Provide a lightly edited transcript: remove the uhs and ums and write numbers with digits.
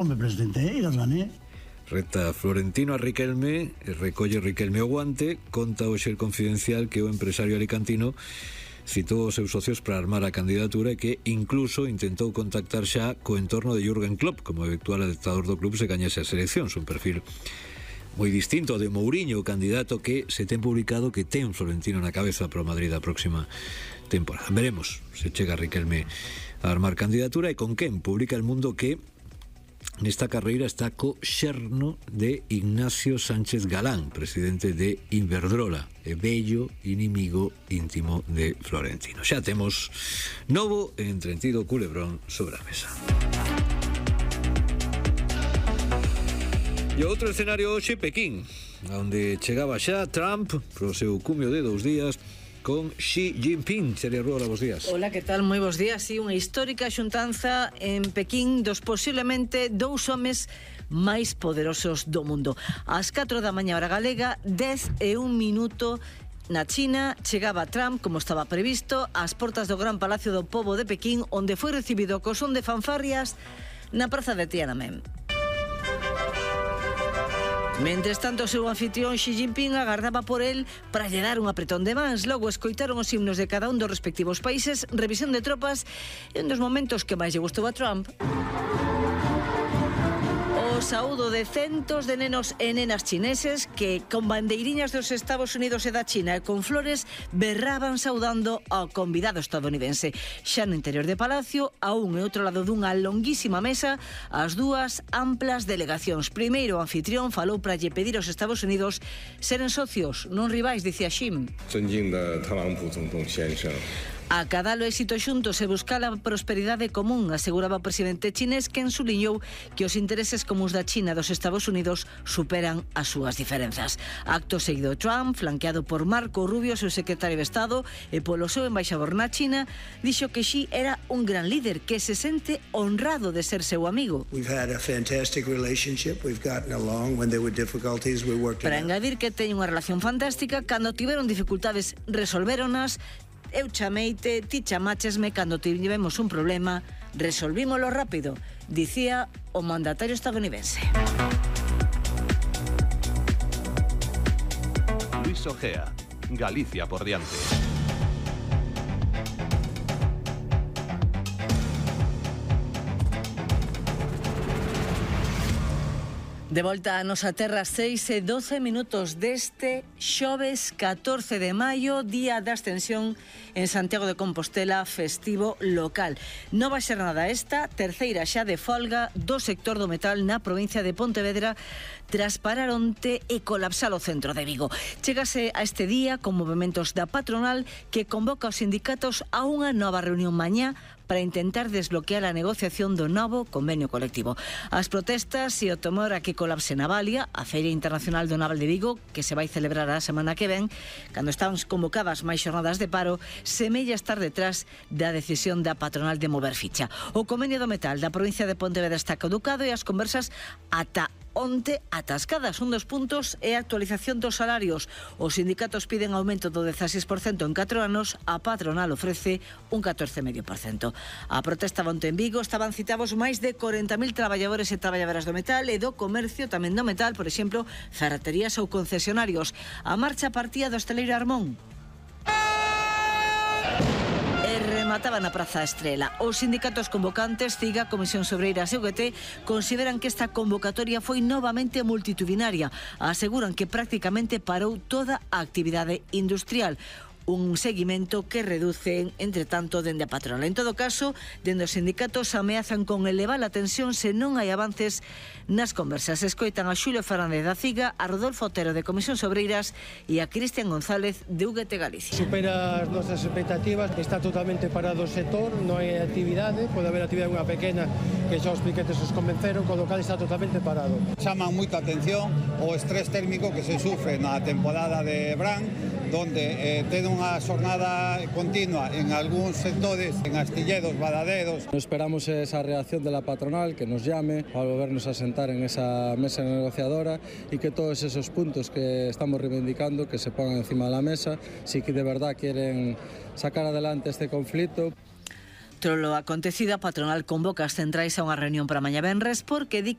Home, presidente, gané. Reta Florentino a Riquelme, recolle Riquelme o guante, conta o xer confidencial que o empresario alicantino citou os seus socios para armar a candidatura e que incluso intentou contactar xa co entorno de Jürgen Klopp como eventual adaptador do club se gañase as eleccións, un perfil moi distinto de Mourinho, o candidato que se ten publicado que ten Florentino na cabeza para o Madrid a próxima temporada. Veremos se chega Riquelme a armar candidatura e con quen. Publica El Mundo que nesta carreira está co xerno de Ignacio Sánchez Galán, presidente de Iberdrola, e vello inimigo íntimo de Florentino. Xa temos novo e entretido culebrón sobre a mesa. E outro escenario hoxe, Pequín, onde chegaba xa Trump pro seu cumio de 2 días con Xi Jinping. Xeria Ruola, bons días. Hola, que tal? Moi bons días. Sí, unha histórica xuntanza en Pequín dos posiblemente 2 homes máis poderosos do mundo. Ás 4 da mañá hora galega, 10:01 na China, chegaba Trump, como estaba previsto, ás portas do Gran Palacio do Pobo de Pequín, onde foi recibido co son de fanfarrias na praza de Tiananmen. Mentres tanto, o seu anfitrión Xi Jinping agardaba por el para lle dar un apretón de mans. Logo escoitaron os himnos de cada un dos respectivos países, revisión de tropas e un dos momentos que máis lle gustou a Trump, o saúdo de centos de nenos e nenas chineses que con bandeiriñas dos Estados Unidos e da China e con flores berraban saudando ao convidado estadounidense. Xa no interior de Palacio, a un e outro lado dunha longuísima mesa, as dúas amplas delegacións. Primeiro o anfitrión falou para lle pedir aos Estados Unidos seren socios, non rivais, dicía Xi. Acadar o éxito xuntos e buscar a prosperidade común, aseguraba o presidente chinés, quen suliñou que os intereses comuns da China e dos Estados Unidos superan as súas diferenzas. Acto seguido, Trump, flanqueado por Marco Rubio, seu secretario de Estado, e polo seu embaixador na China, dixo que Xi era un gran líder que se sente honrado de ser seu amigo. Para engadir que teñen unha relación fantástica, cando tiveron dificultades resolvéronas. Eu chameite, ti chamachesme, cando tivemos un problema, resolvímolo rápido, dicía o mandatario estadounidense. Luis Ojea, Galicia por diante. De volta a nosa terra, 6:12 deste xoves 14 de maio, día da Ascensión en Santiago de Compostela, festivo local. Nova xornada esta, terceira xa de folga do sector do metal na provincia de Pontevedra, tras parar onte e colapsar o centro de Vigo. Chégase a este día con movementos da patronal que convoca os sindicatos a unha nova reunión mañá para intentar desbloquear a negociación do novo convenio colectivo. As protestas e o temor a que colapse Navalia, a Feira Internacional do Naval de Vigo, que se vai celebrar a semana que ven, cando están convocadas máis xornadas de paro, semella estar detrás da decisión da patronal de mover ficha. O convenio do metal da provincia de Pontevedra está caducado e as conversas ata onte atascadas. Un dos puntos é a actualización dos salarios. Os sindicatos piden aumento do 16% en 4 anos, a patronal ofrece un 14,5%. A protesta onte en Vigo estaban citados máis de 40.000 traballadores e traballadoras do metal e do comercio tamén do metal, por exemplo, ferreterías ou concesionarios. A marcha partía do hosteleiro Armón. Remataba na Praza Estrela. Os sindicatos convocantes, CIGA, Comisión Obreiras e UGT, consideran que esta convocatoria foi novamente multitudinaria. Aseguran que prácticamente parou toda a actividade industrial. Un seguimento que reducen, entre tanto, dende a patronal. En todo caso, dende os sindicatos ameazan con elevar a tensión se non hai avances nas conversas. Escoitan a Xulio Fernández da CIGA, a Rodolfo Otero de Comisión Obreiras e a Cristian González de UGT Galicia. Supera as nosas expectativas, está totalmente parado o sector, non hai actividade, pode haber actividade unha pequena que xa os piquetes os convenceron, con lo cal está totalmente parado. Chaman moita atención o estrés térmico que se sufre na temporada de verán, donde ten unha xornada continua en algúns sectores, en astilleros, badaderos. Esperamos esa reacción de la patronal, que nos llame para volvernos a sentar en esa mesa negociadora y que todos esos puntos que estamos reivindicando que se pongan encima de la mesa, si que de verdad quieren sacar adelante este conflicto. Trolo acontecido, a patronal convoca as centrais a unha reunión para mañá venres porque di